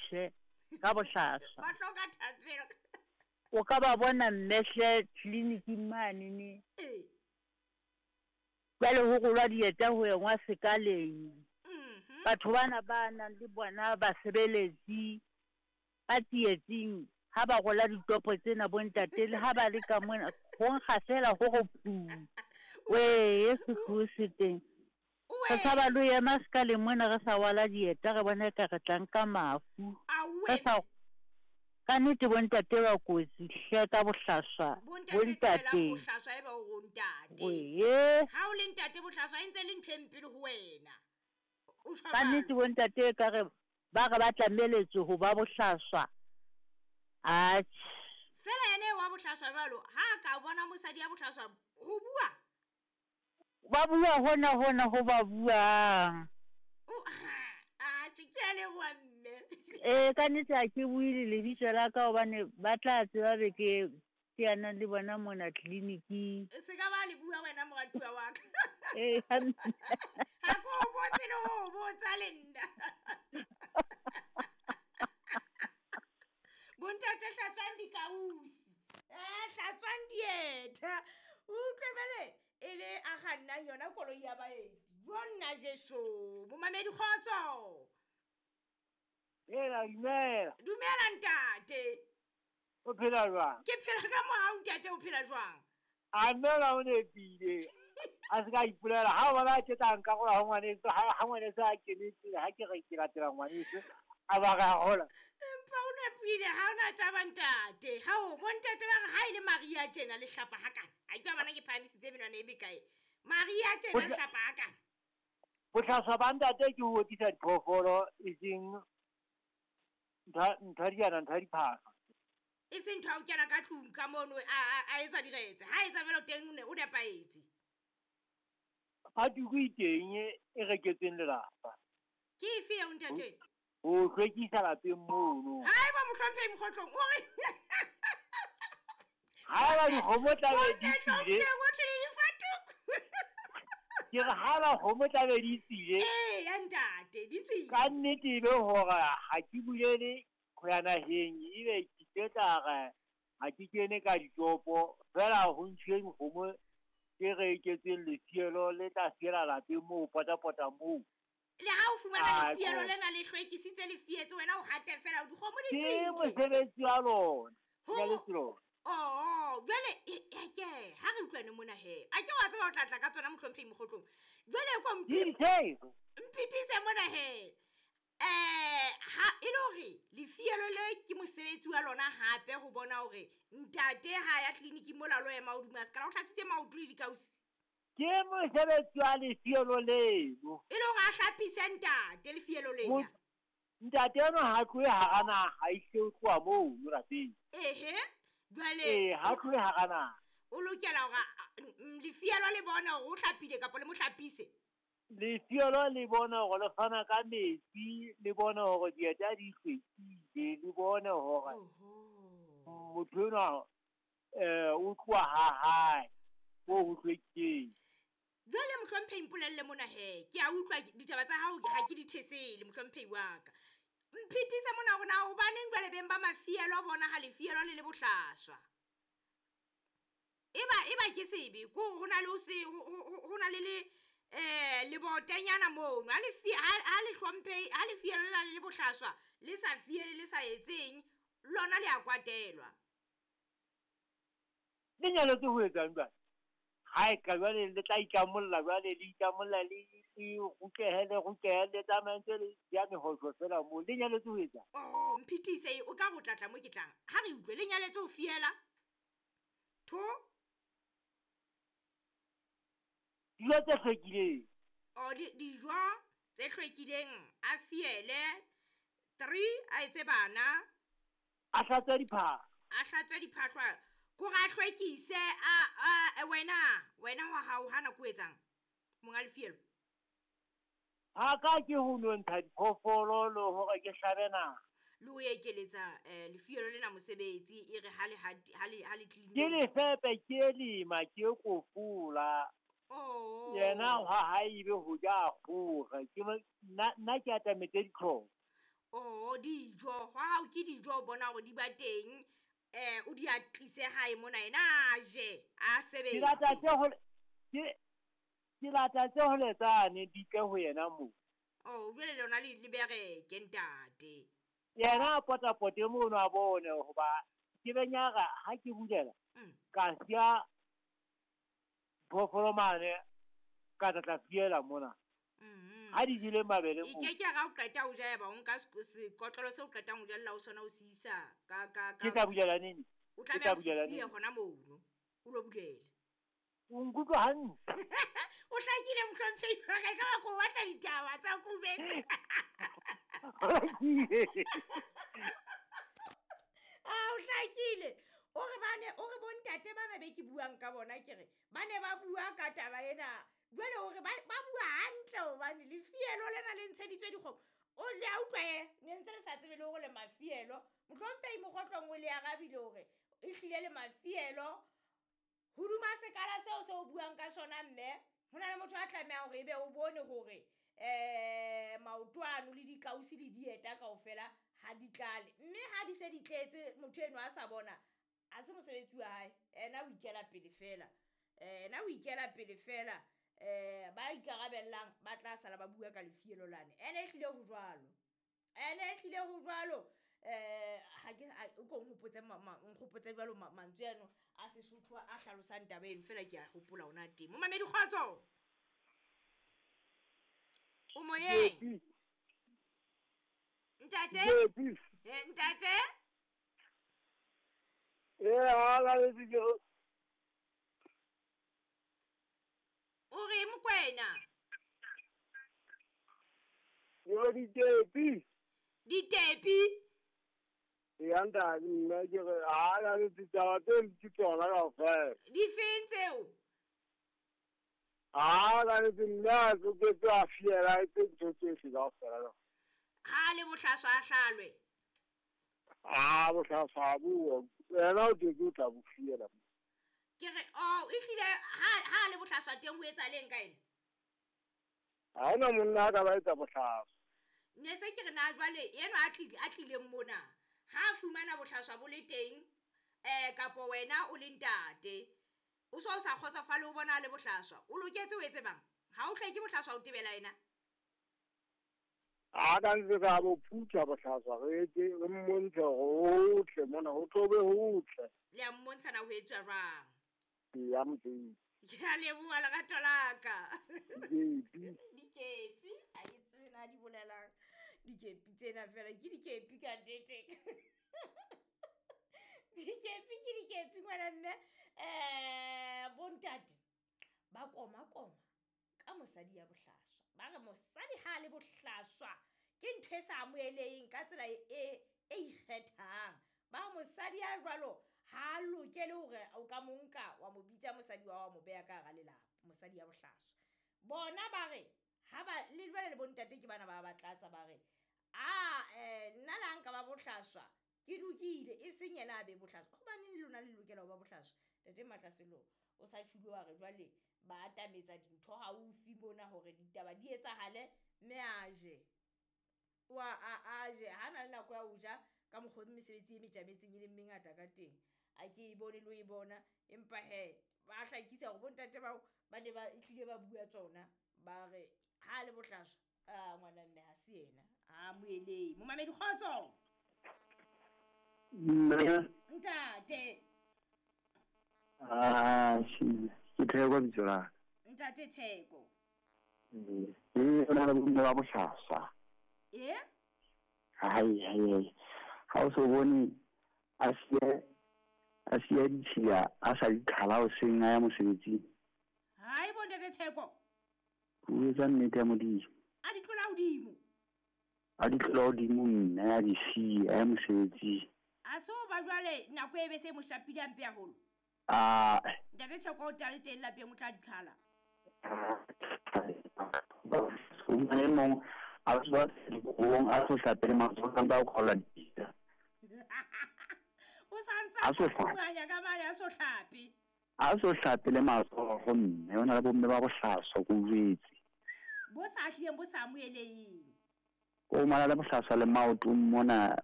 hle ka bohlaswa. Ba hloka thapelo. O ka ba bona mme hle tleliniking mane ne. Ee. Jwale ho rolwa dieta ho engwa sekaleng. Mhm. Batho bana ba nang le bona basebeletsi ba tsietsing ha ba rola ditopo tsena bontate le ha ba le ka mona ho nkga fela ho re phu. Wee sehloho se teng. Re tshaba le ho ema sekaleng mona re sa rwala dieta re bona eka re tla nka mafu. Re sa ka nnete bontate ba kotsi hle ka bohlaswa. Bontate Bontate. tlohelang bohlaswa ebe o re ntate. Wee. Ha o le ntate bohlaswa e ntse e le ntho e mpe le ho wena. O tjho Ka nnete jwalo. bontate e ka re ba re ba tlameletswe ho ba bohlaswa. Atjhe. Fela yena eo wa bohlaswa jwalo ha a ka bona mosadi ya bohlaswa ho bua. Ba bua hona hona ho ba buang. Atjhe ke a leboha mme. Ee ka nnete ha ke bue le lebitso la ka hobane ba tla tseba be ke teanang le bona mona tleliniking. Se ka ba le bua wena moratuwa wa ka. Ee Ha ke o botse le ho o botsa le nna. Bontate hlatswang dikausi. Hlatswang dieta. O utlwe jwale e le a kgannang yona koloi ya baeti. Jo nna Jesu. Momamedi kgotso. Hela dumela. Dumela ntate. O phela jwang? Ke phela ka mohau ntate, o phela jwang? A mme o nepile. A se ka ipolela ha o bona ke tla nka gola ho ngwaneso ha ngwaneso a kenetse ha ke re ke latela ngwaneso a ba ra hola. Empa o nepile ha ona taba ntate. Ha o bontate ba re ha ile Maria tjena le hlapa hakana. A ke bana ke phahamisitse menwana e bekae. Maria tjena le hlapa hakana. Bohlaswa ba ntate ke ho otisa diphoofolo e seng ntho diana ntho diphahlo. E seng ntho ya ho kena ka tlung ka mono a etsa diretse. Ha etsa jwalo teng o nepahetse. Fatuku e teng e reketsweng lelapa. Ke efe eo ntate? Ho hlwekisa lapeng mono. Haeba mohlomphehi Mokgotlong o re Haeba dikgomo tlabe di tswile. Ke re haeba kgomo tlabe di tswile. Ee ya ntate di tswile. Ka nnete e be hore ha ke bulele ho ya naheng ebe ke tla re ha ke kene ka ditopo fela ho ntshuwe dikgomo tse reketsweng lefielo le tla fiela lapeng moo potapota moo. Le ha o fumana lefielo lena le hlwekisitse le fietse wena o hate fela dikgomo di tswile. Ke mosebetsi wa lona. Ke Oh, jwale ke ha re utlwane mona he. A ke wa tseba o tla tla ka tsona mohlomphehi Mokgotlong. Jwale ko mphitise mona he. Ha e le hore lefielo le ke mosebetsi wa lona hape ho bona hore ntate ha ya tleliniking mola lo ema hodima sekala o hlatswitse maoto le dikausi. Ke mosebetsi wa lefielo leno. E le hore a hlapise ntate lefielo lena. Ntate eno ha tlohe hara naha, e o tloha moo lapeng. Ehe. Jwale ha tlohe hara naha. O lokela hore lefielo le bone hore o hlapile kapa le mo hlapise. Lefielo le bona hore le fana ka metsi, le bona hore dieta di hlwekile, le bone hore motho enwa o tloha ha hae moo ho hlwekileng. Jwale mohlomphehi mpolelle mona he, ke a utlwa ditaba tsa hao ha ke di thesele mohlomphehi wa ka. Mphitise mona hore na hobaneng jwale beng ba mafielo bona ha lefielo le le bohlaswa. Eba ke sebe ko ho na le se ho na le le botanyana mono ha le hlomphe ha lefielo le le bohlaswa le sa fiele le sa etseng lona le a kwatelwa. Le nyaletse ho etsang jwale? Ha e ka jwale le tla itlamolla jwale le itlamolla le rutlehe le tsamaye le ya mehotlo fela moo le nyaletse ho etsang? Oh mphitise o ka go tlatla mo ke tlang. Ha re utlwe le nyaletse ho fiela. Tho dijo tse hlwekileng. Oh dijo tse hlwekileng a fiele 3 a etse bana. A hlatswe diphahlo. A hlatswe diphahlo. Ko ra hlwekise a wena wa hao hana ko etsang monga lefielo. Ha ka ke ho nontsha diphoofolo le hore ke hlabe naha. Le o ekeletsa lefielo lena mosebetsi e re ha le clinic. Ke lefepe ke lema ke kofola. Oh. Yena ha ha ibe ho ja kgore ke nna ke atametse ditlhoko. O dijo, hwa hao ke dijo o bona hore di ba teng, o di a tlise hae mona yena a je, a Ke lata sebetse. tse hole ke ke lata tse hole tsane di tle ho yena moo. Oh, jwale lona le le bereke ntate. Yena a potapote mono a bone hoba ke benyara ha ke bulela ka siya phoofolo mane ka tla tla fiela mona. Ha di jele mabele E moo. ke ke ra o qeta ho ja ya ba o nka sekotlolo seo o qetang ho jella ho sona o se isa ka ka Ke ka tla bulela nini? o Ke tlameha tla o se bulela siye nini? hona mono o lo bulela. O nkutlwa hantle. O hlakile mohlomphehi wa ka, ekaba ko batla ditaba tsa kubetse. Hlakile. Ah, o hlakile. O re bane, o re bontate bana be ke buang ka bona ke re, ba ne ba bua ka taba ena. Jwale o re ba bua hantle hobane lefielo lena le ntsheditswe dikgomo. O le a utlwa he, ne ntse le sa tsebe le hore le mafielo. Mohlomphehi Mokgotlong o le arabile hore ehlile le mafielo. Hoduma sekala seo se o buang ka sona mme, ho na le motho a tlamehang hore ebe o bone hore maoto ano le dikausi le dieta kaofela ha di tlale. Mme ha di se di tletse motho eno a sa bona, ha se mosebetsi wa hae. Ena o ikela pele fela. Ena o ikela pele fela. Ba ikarabellang ba tla sala ba bua ka lefielo lane. Ene ehlile ho jwalo. Ene ehlile ho jwalo. Ha ke o ko nkgopotse nkgopotse jwalo mantswe ano a Sesotho a hlalosang taba eno fela ke a hopola ona teng. Momamedi kgotso. O moyeng. Ntate? Ntate? Ha la le ke O re Mokwena? Yo ditepi. Ditepi? Ya ntate nna ke re ha la le ditaba tse ke tsona kaofela. Di feng tseo? Ha la le nna ke ke tla fiela tse ntho tsohle kaofela. Ha le bohlaswa a hlalwe. Ha bohlaswa bo wena o ke o tla bo fiela. Ke re oh ehlile ha le bohlaswa teng ho etsahaleng ka ena? Ha hona monna a ka ba etsa bohlaswa. Ne se ke re na jwale eno a tlileng mona ha fumana bohlaswa bo le teng kapo wena o le ntate o so o sa kgotsofale o bona le bohlaswa o loketse o etse bang ha o hleke bohlaswa o tebela ena. A ka ntse ka bo phutha bohlaswa re etse re mmontshe hohle mona ho tlobe hohle. Le a mmontsha na ho etswa jwang? Ya motse. Ke a leboha lerato la ka. Dikepi. Dikepi, ha ke tsebe na di bolelang. Dikepi tsena fela ke dikepi ka nnete. Dikepi ke dikepi ngwana mme. Bontate ba koma koma ka mosadi ya bohlaswa. Ba re mosadi ha le bohlaswa ke ntho e sa amoheleheng ka tsela e ikgethang. Ba mosadi ya jwalo ha lokele hore o ka mo nka wa mo bitsa mosadi wa mo beha ka hara lelapa, mosadi ya bohlaswa. Bona ba re ha ba le jwale le bontate ke bana ba ba tlatsa ba re a nna la nka ba bohlaswa ke lokile e seng yena a be bohlaswa. Hobaneng le lona le lokela ho ba bohlaswa? Ntate Matlaselo o sa tjhulo wa re jwale ba atametsa dintho haufi mona hore ditaba di etsahale mme a je. Wa a je ha na le nako ya ho ja ka mokgwa mesebetsi e metjametseng e leng mengata ka teng. A ke e bone le ho e bona empa he ba hlakisa hore bontate bao ba ne ba tlile ba bua tsona ba re ha le bohlaswa a ngwana mme ha se yena a moeleng. Momamedi kgotso. Nna ntate. Ah, ke Theko bitso la ka. Ntate Theko. O na le bomme ba bohlaswa. Hai hai. Ha o so bone a siya ditshila a sa di qhala hoseng a ya mosebetsing. Hai bo ntate Theko. O etsa nnete ya Modimo. A di tlola hodimo. A di tlola hodimo mme a di siya a ya mosebetsing. A so ba jwale nako e be se mo shapile hampe haholo. Ah. Ntate Theko o tla le teng lapeng o tla di qhala. O mane mong a tswa dikobong a so hlapele matsoho ka ba khola dipitsa. O santsa a ka mane a so hlape. A so hlapele matsoho mme ona le bomme ba bohlaswa ko jwetse. Bo sa hlileng bo sa amoheleheng. O mala le bohlaswa le maotong mona.